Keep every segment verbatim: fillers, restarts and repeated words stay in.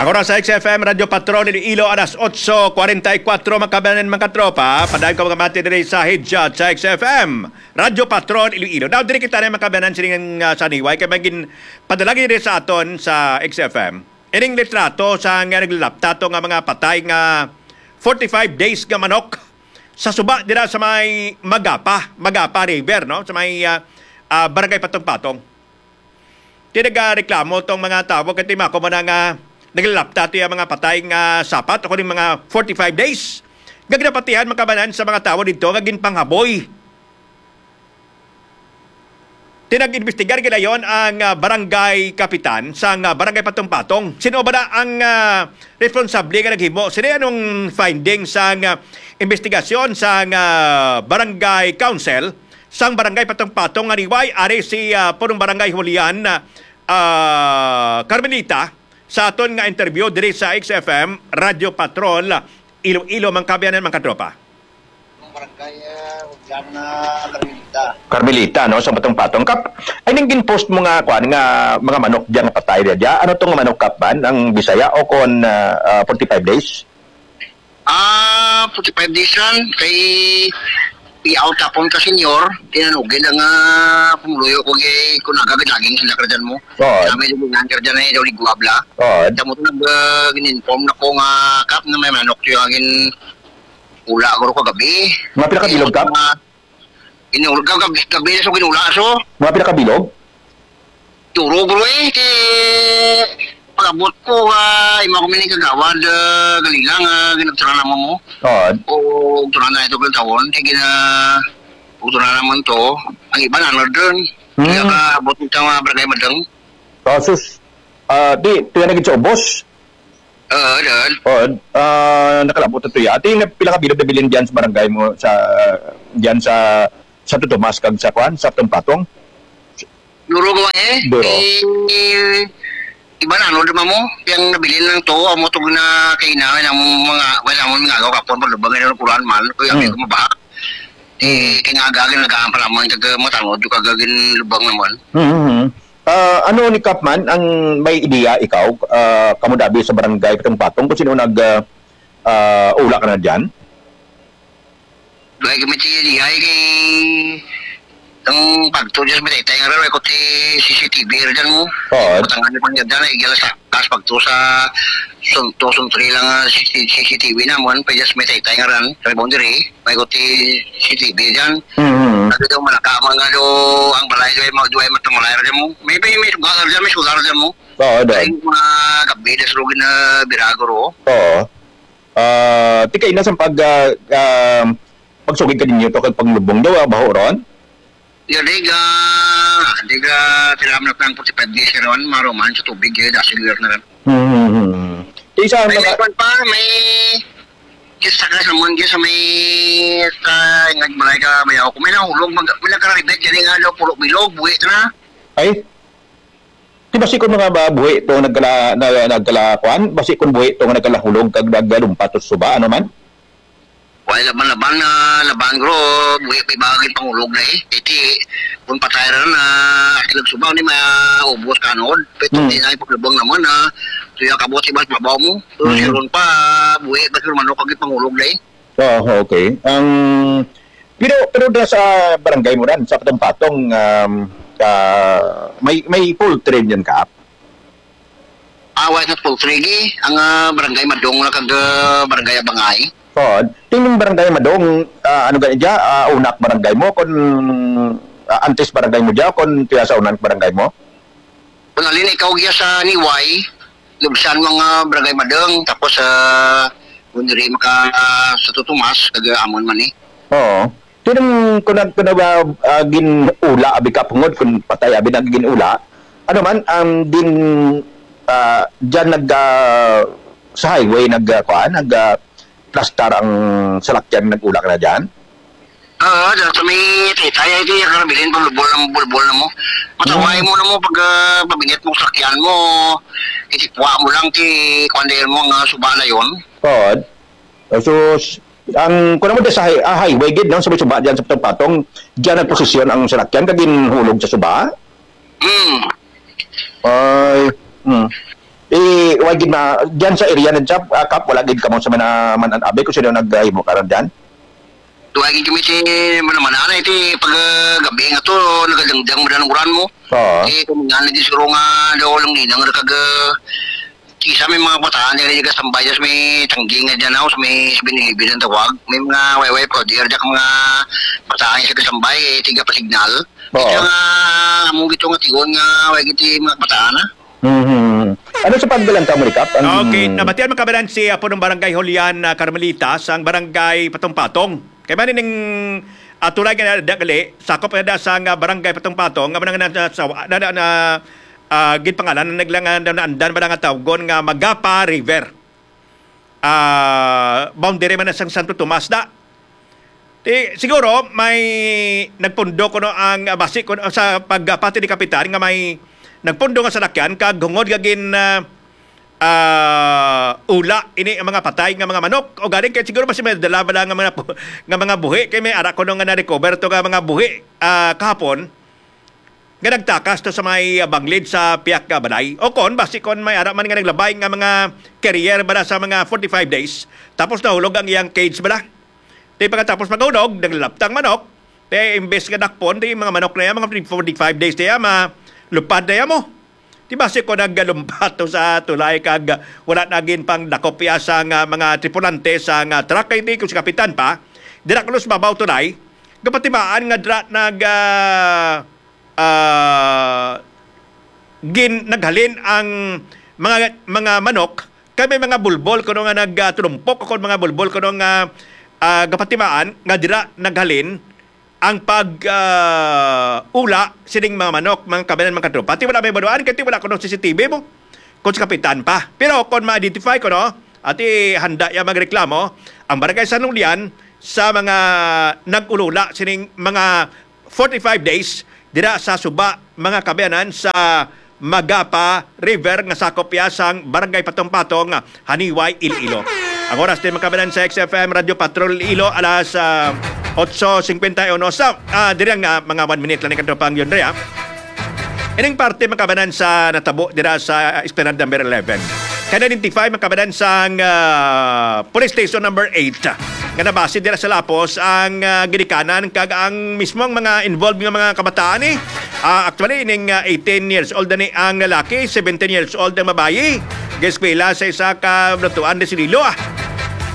Oras sa X F M Radyo Patrol Iloilo, alas otso kwarenta y kuwatro, mga kabayanan, mga katropa. Padayon ko mga mati diri sa Headshot sa X F M Radyo Patrol Iloilo. Now, diri kita na, mga kabayanan, sining, ah, sa Niway, kay may gin-, padala gid diri sa aton sa X F M. Ining litrato sa nga naglalapta to nga mga patay nga forty-five days nga manok sa suba dira sa may Magapa, Magapa River, no? Sa may, ah, ah, Barangay Patong-Patong. Ti nagareklamo tong mga tawo kay timako mo na nga naglalapta ti mga patay nga sapat o kuning mga forty-five days nga ginapatihan, mga kabayanan, sa mga tawo didto nga ginpanghaboy. Ti nag-imbestigar gilayon ang, ah, barangay kapitan sang, ah, barangay Patong-Patong. Sino ba na ang, ah, responsable nga naghimo? Sino anong findings sang, ah, investigasyon sang, ah, barangay council sang barangay Patong-Patong nga Niway? Ari si, ah, punong barangay Julian, ah, ah, Carmelita sa aton nga interview diri sa X F M Radyo Patrol Iloilo, mga kabayanan, mga katropa. Barangay, ah, Julian, ah, Carmelita. Carmelita, no, sa Patong-Patong. Kap, ay ning gin-post mo nga, kwan, nga mga manok diyan nga patay diya. Ano tong manok, Kap, man? Ang Bisaya o kon, ah, ah, forty-five days? Ah, forty-five days yan. Kay i-out tapon ka, senyor. Tinanugin ang, ah, pumuluyo ko kay kung nagagad laging sila ka dyan mo. Oo. Sa may lumingan ka dyan ay daw ligwab la. Oo. Damo to nag, ah, gin-inform na ko nga, Kap, na may manok yung agin ula ko kagabi. Mga pila ka bilog, Kap? Mga, inul-, kagabi, gabi na so ginula so. Mga pila ka bilog? Duro, bro, eh. Kay pag-abot ko, ah, imo kami ni kagawad, ah, gali lang, ah, ginagtara naman mo. Oo. O, tara na ito kang tawon. Kay gina, tara naman to. Ang iba na, ano dun. Hmm. Kaya ka, abot nito mga barangay madang. Oh, sus. Ah, di, tuya na gid sa ubos. Oo, dun. Oh, ah, nakalabot na tuya. Ati, na, pila ka bilog nabilin diyan sa barangay mo, sa, diyan sa, sa Santo Tomas, kag sa, kwan, sa Patong-Patong? Duro ko, eh. Duro. Eh, iba na, ano, di ba mo? Yang nabilin lang to, amo to na kainaw, ang mga, wala mo nga ako, kapon, pag lubang, ano, kuran man, kaya Hmm. ako mabahak. Eh, Hmm. kaya nga agagin, nagahan pa naman, kag matanod, yung kagagin lubang naman. Hmm, hmm, hmm. Ah, ano ni Kap man, ang may ideya ikaw, ah, kamo dabi sa barangay Patong-Patong, kung sino nag, ah, ah, ula ka na dyan? Dugay kami ti diay kay ang pagto dyan sa may taytay nga ran, may ko ti C C T V ra dyan mo. Oo. Patangan niyo pa niya dyan, ay gila sa kas pagto sa sunto, suntri lang, ah, C C, C C T V naman, pa dyan sa may taytay nga ran, sa may boundary, may ko ti C C T V dyan. Mm-hmm. Sabi daw, malaka man nga daw, ang balay daw, ay mga duway matamalay ra dyan mo. May, may, may sugar ra dyan, may sugar ra dyan mo. Oo, daw. Ay, mga gabi, das rugi na birago ro. Oo. Ah, ti kaina sang pag, ah, ah, pagsugid ka ninyo to kag panglubong daw, ah, baho ron? Ya, di ga, di ga, tilam na pang forty-five days ron, maruman sa tubig, eh, dasig na ron. Hmm, hmm, hmm. Ti sa May, mga may kwan pa, may, kis sa kasamon, kis sa may, sa, ingag balay ka, may ako, may nahulog, mag-, may nagkararibet, yan nga daw, pulo bilog, buhi na. Ay? Di ba si kun mga ba-, buhi to nagkala-, na-, nagkalakuan? Basi kun buhi to nga nagkalahulog kag nagalumpat to suba, ano man? Wala laban-laban na laban, bro. Buhi pa iba gid pangulog na eh. Iti, kung patay ra na, ati nagsuba, ni maubos kanod. Pero Hmm. di na ipaglubang naman, ah. Tuya kabot si Bas Babaw mo. Pero Hmm. si Ron pa, buhi, bas manok, kag pangulog na eh. Oh, okay. Ang, pero, pero da sa barangay mo ran, sa Patong-Patong, um, ah, may, may poultry niyan ka? Ah, wala sa poultry, gi. Ang, ah, barangay Madong lang kag, ah, barangay Abangay. Oh, tining barangay Madong, ah, ano gani dya? Ah, unak barangay mo, kon, ah, antes barangay mo dya, kon tuya sa unak barangay mo? Kung alin ikaw giya sa Niway, lubsan mo nga Barangay Madeng, tapos, ah, kung diri maka, ah, sa Tutumas, taga Amon man eh. Oo. Tinong kung nag-, kung nag-, ah, ah, gin-ula, abi ka pungod, kung patay, abi na gin-ula. Ano man, ang din, ah, dyan nag, ah, sa highway, nag, ah, kuan, nag, ah, plastar ang salakyan, nag-ula ka na dyan? Oo, dyan sa may titay, ay, kaya ka nabilin, bulbol na mo, bulbol na mo. Mataway Hmm. mo na mo pag, ah, pabinit mo sakyan mo, itipwa mo lang, ti, kuwan dahil mo nga suba na yun. Oo. So, s-, ang, kung mo sa hi-, ah, highway gid, no? Sa may suba dyan sa patong-patong, dyan ang posisyon ang salakyan, kag ginhulog sa suba? Hmm. Ay, hmm. Eh, Wa gid ma-, diyan sa area na job, ah, Kap, wala gid kamo sa mana-, man-, abi kung sino naghimo karon diyan? Tuwagin kami si Manamana na iti pag, ah, gabi nga to, nagadangdang mo dan uran mo. Oo. Eh, kung nga, naging siguro nga daw lang ninang nga kag, ah, kisa may mga bataan nga nagkasambay sa may tanggi nga dyan ako, sa may seven eleven ang tawag. May mga way-way pa, di arda ka mga bataan nga kasambay, eh, tiga pa signal. Oo. Ito nga, amo gito nga tigon nga, way giti mga bataan, ah. Mhm. Ano sa pagbilang ka, Murikap? Ang Okay, nabatian man kabanan si Apo ng Barangay Julian, ah, Carmelita, sang Barangay Patong-Patong. Kay man ning, ah, tulay nga da-, gali, sakop na da sang, ah, Barangay Patong-Patong, nga man ang na, na, sa, na, na, na, ah, ginpangalan, naglang, ah, naandan man nga tawgon nga Magapa River. Ah, boundary man na sang Santo Tomas da. Ti, siguro may nagpundo kuno ang, ah, basi kuno sa pagpati ni Kapitan nga may nagpundo nga salakyan kag hungod nga gin, ah, ah, ula ini ang mga patay nga mga manok. O galing kay siguro basi may dala bala nga mga pu-, nga mga buhi kay may ara kuno nga na-recover to nga mga buhi, ah, kahapon. Nga nagtakas to sa may, ah, banglid sa piyak nga balay. O kon, basi kon may ara man nga naglabay nga mga carrier bala sa mga forty-five days, tapos nahulog ang iyang cage bala. Di pagkatapos maghunog, naglalaptang manok, di imbes nga dakpon, di mga manok na yan, mga forty-five days na yan, malupad na yan mo. Di basi kon naggalumpat to sa tulay kag wala na gin pang dakop iya sa nga mga tripulante sa nga truck, kay di ko si kapitan pa, dira kuno sa babaw tulay, gapatimaan nga dira nag, ah, ah, gin-, naghalin ang mga, mga manok, kay may mga bulbol kuno nga nagtulumpok, o kon mga bulbol kuno nga, ah, gapatimaan nga dira naghalin ang pag, ah, ula sining mga manok, mga kabayan, mga katropa. Ti wala may baluan, kay ti wala kuno C C T V mo. Kung sa kapitan pa. Pero kung ma-identify ko, no, ati handa ya magreklamo, ang Barangay San Julian sa mga nag-ulula sining mga forty-five days dira sa suba, mga kabayanan, sa Magapa River nga sakop ya sang Barangay Patong-Patong, Haniway, Iloilo. Ang oras din, mga kabayanan, sa X F M Radyo Patrol Iloilo, alas, ah, otso cincuenta y uno. Sa, ah, diri ang, ah, mga one minute lang ni Katropang Yun Rea. Ining parte, mga kabayanan, sa natabo dira sa Esplanade number eleven. Kaya na-identify, mga kabayanan, sang, ah, Police Station number eight, nga nabase dira sa lapos ang, ah, ginikanan kag ang mismong mga involved nga mga kabataan, eh. Ah, actually, ining, ah, eighteen years old na ni ang lalaki, seventeen years old ang babayi. Gaeskwela sa isa ka lutuan de Sililo, ah.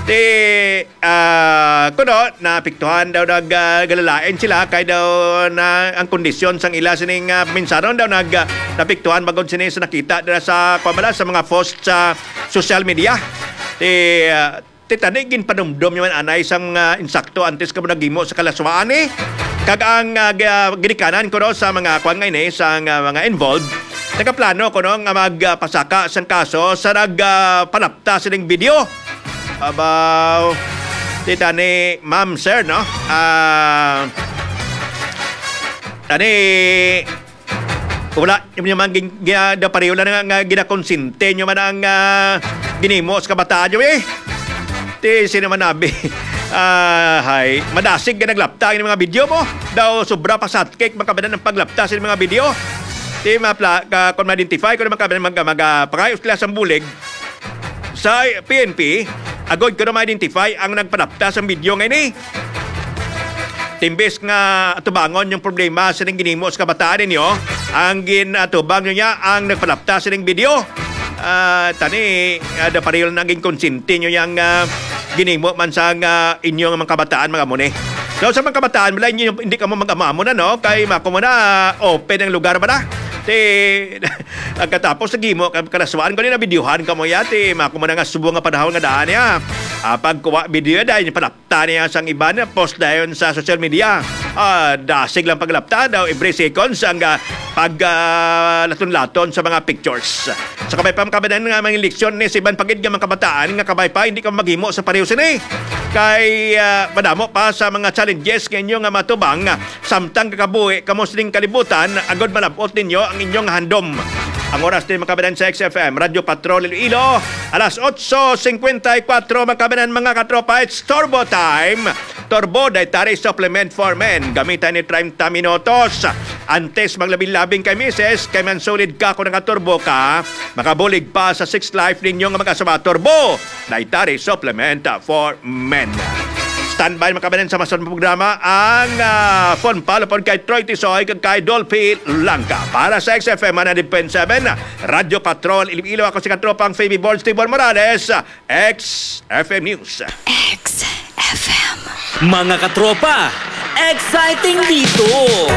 Ti, ah, kuno, naapektuhan daw nag, ah, galalain sila kay daw na ang kondisyon sang ila sining, ah, paminsaron daw nag, ah, naapektuhan magod sini sa nakita dira sa, kuwan bala, sa mga post sa social media. Ti, ah, ti tani ginpanumdom niya man anay sang, ah, insakto antes ka mo naghimo sa kalaswaan, eh. Kag ang, ah, ga-, ginikanan kuno sa mga kuwan nga ini, sa, ah, mga involved, nagaplano kuno nga magpasaka sang kaso sa nag, ah, panapta sining video. Abaw, ti tani, ma'am, sir, no? Ah, tani, wala, yung naman gin-, gina-, da pareho lang nga, nga ginakonsente nyo man ang, ah, ginimo sa kabataan nyo, eh. Ti, sino man nabi? Ah, hay, madasig ka naglapta ang mga video mo. Daw sobra pa sa cake, makabanan ang paglapta sa mga video. Ti, mapla-, ka, kung ma-identify ko na makabanan mag-, mag-, ah, pangayos sila sa bulig, sa P N P, agod ko na ma-identify ang nagpanapta sang video nga ini. Timbis nga atubangon yung problema sa ning ginimo sa kabataan ninyo, ang ginatubang nyo niya ang nagpanapta sa ning video. Ah, tani, ah, da pareho na naging konsente nyo yang, ah, ginimo man sa nga inyong mga kabataan, mga muni. So, sa mga kabataan, wala inyo, hindi ka mo mag-amamo na, no? Kay mako mo na, open ang lugar ba na? Ti, Pagkatapos sa gimo, ka-, kalaswaan ko ni nabidyohan ka mo yati. Mako mo na nga subo nga panahon nga daan niya. Ah, pagkuha video dahil palapta niya sang iban, post dayon sa social media. Ah, dasig lang paglapta daw every seconds ang, ah, pag, ah, laton-laton sa mga pictures. Sa kabay pa makabanan nga mga leksyon ni sa iban pagid nga mga kabataan nga kabay pa hindi ka maghimo sa pareho sini. Kay, ah, madamo pa sa mga challenges nga inyo nga matubang, ah, samtang kakabuhi kamo sining kalibutan, agod malab-ot ninyo ang inyong handom. Ang oras din, mga kabanan, sa X F M Radyo Patrol Iloilo, alas otso cincuenta y cuatro, mga kabanan, mga katropa, it's Turbo Time. Turbo Dietary Supplement for Men. Gamitan ni treinta minutos. Antes maglabi-labing kay misis, kay mansulid ka kung naka-turbo ka, makabulig pa sa sex life ninyo nga mag-asawa. Turbo Dietary Supplement for Men. Standby, mga kababayan, sa masunod nga programa ang ah, Fun Palo pod kay Troy Tisoy kag kay Dolphy Langka. Para sa X F M one hundred point seven, Radyo Patrol Iloilo, ako si katropang Fabi Born, Steve Morales, X F M News. X F M. Mga katropa, exciting dito!